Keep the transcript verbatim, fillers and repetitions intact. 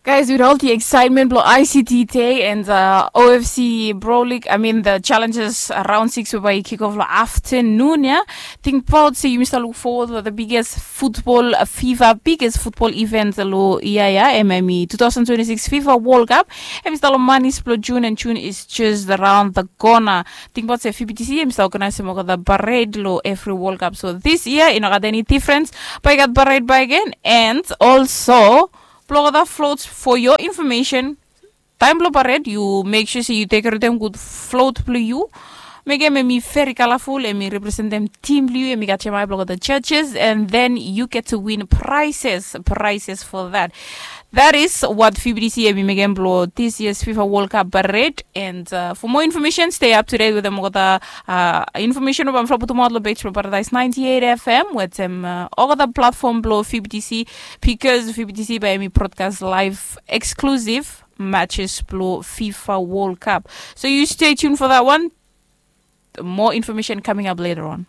Guys, with all the excitement blo I C T Day and uh, O F C Bro League, I mean the challenges around six by kick off lo afternoon, yeah. Think about say you must look forward to the biggest football uh, FIFA, biggest football event lo yeah yeah M M E two thousand twenty-six FIFA World Cup. Em is lo money blo June and June is just around the corner. Think about say F B T C em is organizing the parade lo every World Cup. So this year, you know, got any difference? But I got parade by again and also Blogger floats for your information. Taem blong pared yu mek sua se yu tekeretem gud flot blong yu. Mekem em i veri kalaful, em i representem tim blong yu, em i gat yamai blogger the judges, and then you get to win prizes prizes for that. That is what fibdc em i mekem blong this year's fifa world cup parade. And uh, for more information, stay up to date with them all the uh, information about from Putumatlo page from Paradise ninety-eight F M with them uh, all the platform blong fibdc, because fibdc by me broadcast live exclusive matches blong fifa world cup. So you stay tuned for that one. More information coming up later on.